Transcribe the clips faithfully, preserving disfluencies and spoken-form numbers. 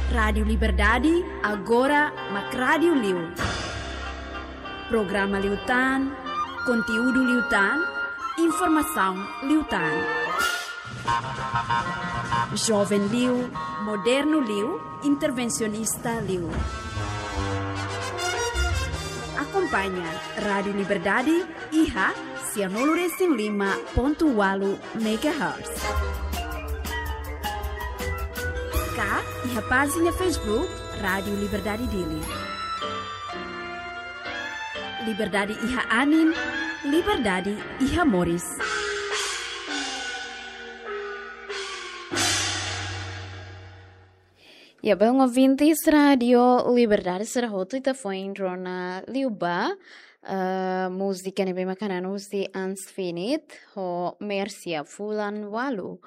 Rádiu Liberdade, agora mak rádiu liu. Programa liután, konteúdu liután, informasaun liután. Joven liu, modernu liu, intervensionista liu. Akompaña Rádiu Liberdade iha sianulu resin lima pontu ualu megahertz. Ka iha pájina Facebook Rádiu Liberdade Dili. Liberdade iha anin, liberdade iha moris. Ya, belun ouvintes Rádiu Liberdade sira hotu, ita foin rona liu ba, eh, múzika ne'ebé mak hanan husi Ans Finit, ho Mercia Fulan Walu.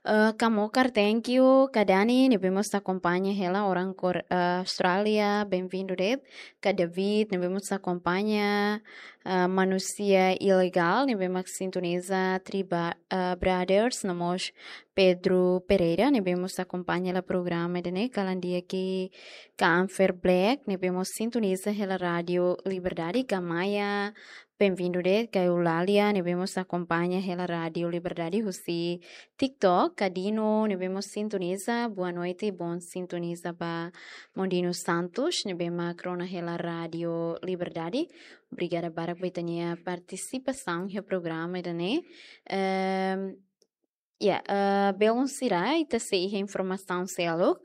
Eh, Kamokar, thank you, Kadani, ne'ebé mós akompaña hela orang kor, eh, Austrália, bem-vindo de'it, Ka David, ne'ebé mós akompaña, eh, Manusia Ilegal, ne'ebé mak sintoniza Triba, eh, Brothers, no mós Pedro Pereira, ne'ebé mós akompaña hela programa ida-ne'e, kalan di'ak, Ka Anfer Black, ne'ebé mós sintoniza hela Rádiu Liberdade, Ka Maia, bem-vindo de'it, Ka Eulalia, ne'ebé mós akompaña hela Rádiu Liberdade husi TikTok, Ka Dino, ne'ebé mós sintoniza, boa noite, bom sintoniza ba Mondino Santos, ne'ebé mak rona hela Rádiu Liberdade. Obrigada barak ba ita-nia partisipasaun iha programa ida-ne'e. Ehm, Ya, eh, belun sira, ita sei iha informasaun seluk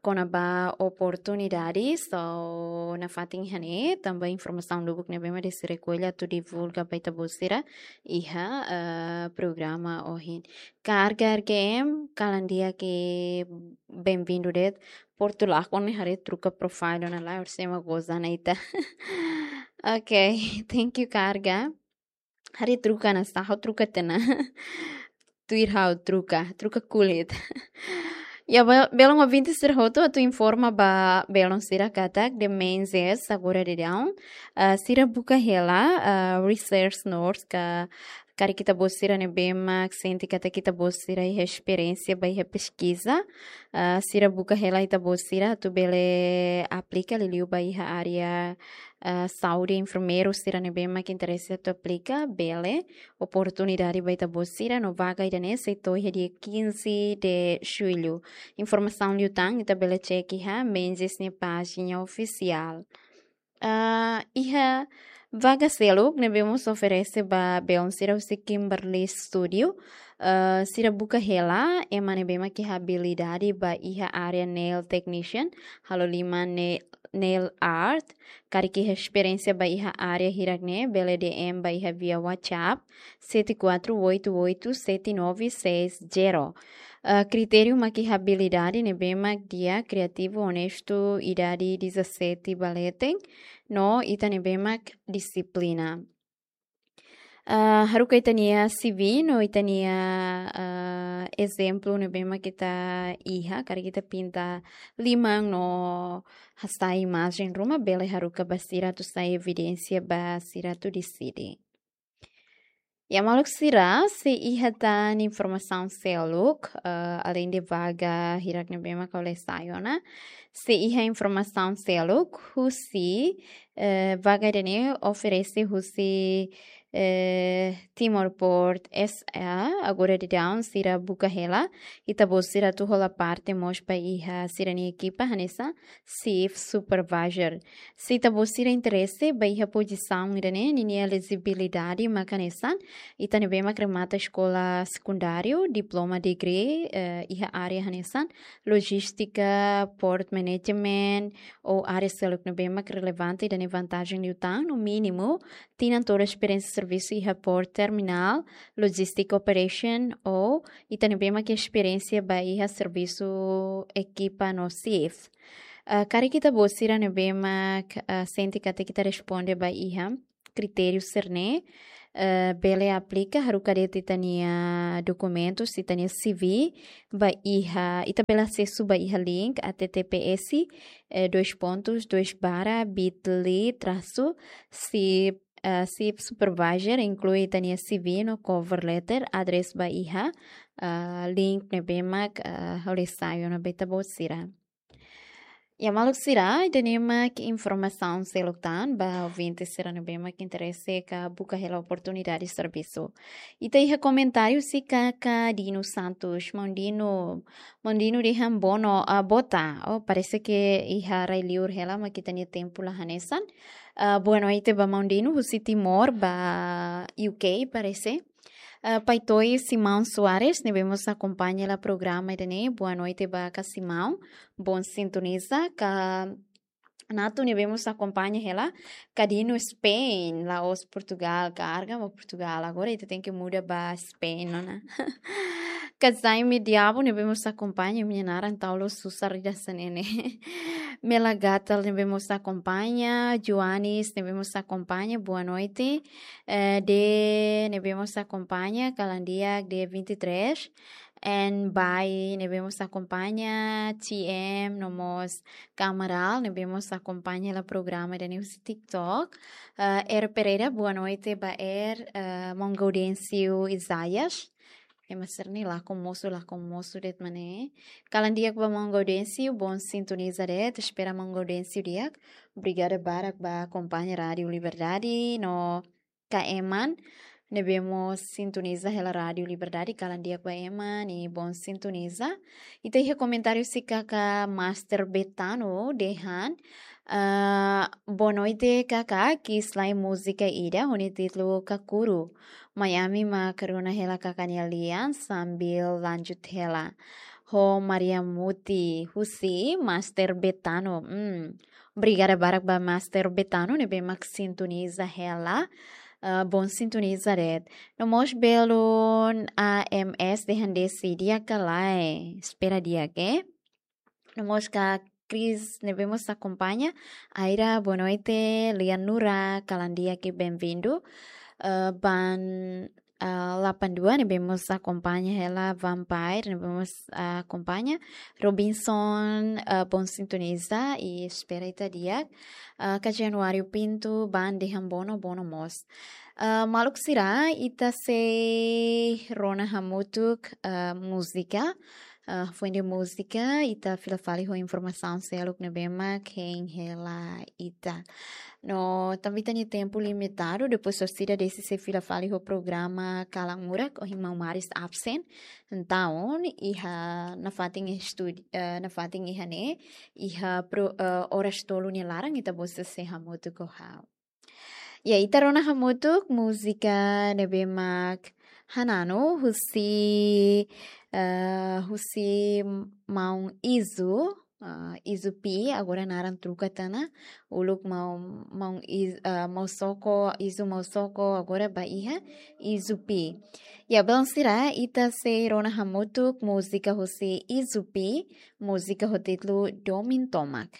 kona-ba oportunidade, so nafatin iha ne'e, tanba informasaun lubuk ne'ebé mak desi rekolla atu divulga ba ita-boot sira iha, eh, programa ohin. Karga R G M, kalan di'ak, bem-vindo de'it, Portulakon ne'e haree troka profile ona lae, orsida ema goza ona ita. Ok, thank you, Karga. Haree troka ona sá, ha'u troka tiha ona. Tuir ha'u troka, troka kulit. Ya, be-, belun ouvintes sira hotu, atu informa ba belun sira katak The Menzies agora daudaun, ah, sira buka hela, ah, research nurse ka, karik ita-boot sira ne'ebé mak sente katak ita-boot sira iha esperiénsia ba iha peskiza, ah, sira buka hela ita-boot sira atu bele aplika liuliu ba iha área, ah, saúde, enfermeiru sira ne'ebé mak interese atu aplika, bele, oportunidade ba ita-boot sira, no vaga ida-ne'e sei to'o iha dia quinze de julho. Informasaun liután ita bele cek iha Menzies nia pájina ofisiál. Ah, iha vaga seluk ne'ebé mós oferese ba belun sira husi Kimberly Studio. Ah, sira buka hela ema ne'ebé mak iha abilidade ba iha área nail technician, halo liman ne-, nail art. Karik iha esperiénsia ba iha área hirak-ne'e, bele D M ba iha via WhatsApp sete quatro oito oito sete nove seis zero. Ah, kritériu mak iha abilidade ne'ebé mak di'ak, kriativu, onestu, idade dezassete ba leten, no ita ne'ebé mak dixiplina. Ah, haruka ita-nia C V no ita-nia, ah, ezemplu ne'ebé mak ita iha, karik ita pinta liman no hasai imajen ruma, bele haruka ba sira atu sai evidénsia ba sira atu deside. Ya, maluk sira, sei iha tan informasaun seluk, eh, além de vaga hirak ne'ebé mak ha'u lee sai ona, sei iha informasaun seluk husi, eh, vaga ida-ne'e oferese husi, eh, Timor Port S A, agora daudaun sira buka hela ita-boot sira atu hola parte mós ba iha sira-nia ekipa hanesan Shift Supervisor. Se ita-boot sira interese ba iha pozisaun ida-ne'e, ninia elejibilidade mak hanesan ita ne'ebé mak remata eskola sekundáriu, diploma, degree, eh, iha área hanesan lojístika, port management, ou área seluk ne'ebé mak relevante, ida-ne'e vantajen liután, no mínimu tinan tolu esperiénsia servisu iha port terminál, logistic operation, ou ita ne'ebé mak esperiénsia ba iha servisu ekipa no shift. Ah, karik ita-boot sira ne'ebé mak, ah, sente katak ita responde ba iha kritériu sira-ne'e, ah, bele aplika, haruka de'it ita-nia dokumentus, ita-nia C V, ba iha, ita bele asesu ba iha link H T T P S, eh, dois pontos, dois barra, bit L Y, traço, Shift, ah, Shift Supervisor, inklui ita-nia C V no cover letter, address ba iha, ah, link ne'ebé mak, ah, ha'u lee sai ona ba ita-boot sira. Ya, maluk sira, ida-ne'e mak informasaun seluk tan ba ouvinte sira ne'ebé mak interese ka buka hela oportunidade servisu. Ita iha komentáriu husi kaka Dino Santos, maun Dino, maun Dino dehan bono, ah, bota. Oh, parese ke iha rai-liur hela mak ita-nia tempu la hanesan. Ah, boa noite ba maun Dino, husi Timor ba U K parese. Ah, Pai Toy Simão Soares, ne'ebé mós akompaña hela programa ida-ne'e. Boa noite ba kaka Simão. Bom sintoniza. Kaka Nato, ne'ebé mós akompaña hela. Kaka Dino Spain, la'ós Portugal, karga ba Portugal. Agora ita tenke muda ba Spain, não é? Kaka Jaime Diabo, ne'ebé mós akompaña, imi-nia naran tau la'o susar ida hanesan ne'e. Mela Gatal, ne'ebé mós akompaña. Joanes, ne'ebé mós akompaña. Boa noite. Eh, de, ne'ebé mós akompaña, kalan di'ak de vinte e três. En Bai, ne'ebé mós akompaña, T M, no mós Kamaral, ne'ebé mós akompaña hela programa ida-ne'e husi TikTok. Eh, Er Pereira, boa noite ba Er, eh, maun Gaudêncio Isaias. Ema sira-ne'e lakon mosu, lakon mosu de'it mak ne'e. Kalan di'ak ba maun Gaudêncio, bom sintoniza de'it, espera maun Gaudêncio di'ak. Obrigada barak ba akompaña Rádio Liberdade, no kaka Eman, ne'ebé mós sintoniza hela Rádio Liberdade, kalan di'ak ba Eman, i bom sintoniza. Ita iha komentáriu husi kaka Master Betano, dehan, ah, boa noite, kaka, ki'ik lai múzika ida, ho nia títulu Kakuru. Mai ami mak rona hela kaka nia lian, sambil lanjut hela. Ho Maria Muti, husi Master Betano. Hmm. Obrigada barak ba Master Betano, ne'ebé mak sintoniza hela. Ah, bom sintoniza de'it. No mós belun A M S dehan desi di'ak ka lae. Espera di'ak, eh. No mós kaka Cris, ne'ebé mós akompaña. Aira, boa noite. Lian Nura, kalan di'ak i bem-vindo. Ah, Ban, ah, delapan dua, ne'ebé mós akompaña hela. Vampire, ne'ebé mós, ah, akompaña. Robinson, ah, bom sintoniza i espera ita di'ak. Ah, kaka Januário Pinto, Ban dehan bono, bono mós. Ah, maluk sira, ita sei rona hamutuk, ah, múzika. Ah, foin de múzika, ita fila fali ho informasaun seluk ne'ebé mak hein hela ita. No, tanba ita-nia tempu limitadu, depois orsida desi sei fila fali ho programa Kalan Murak, ohin maun Maris absen. Entaun, iha nafatin estúdiu, eh, nafatin iha ne'e, iha pro-, eh, oras tolu nia laran, ita-boot sei hamutuk ho ha'u. Ya, ita rona hamutuk múzika ne'ebé mak Hananu husi, eh, husi maun Izu, eh, Izu P, agora naran troka tiha ona, uluk maun, maun Iz-, eh, maun Soko, Izu maun Soko, agora ba iha Izu P. Ya, belun sira, ita sei rona hamutuk múzika husi Izu P, múzika ho títulu Domin Tomak.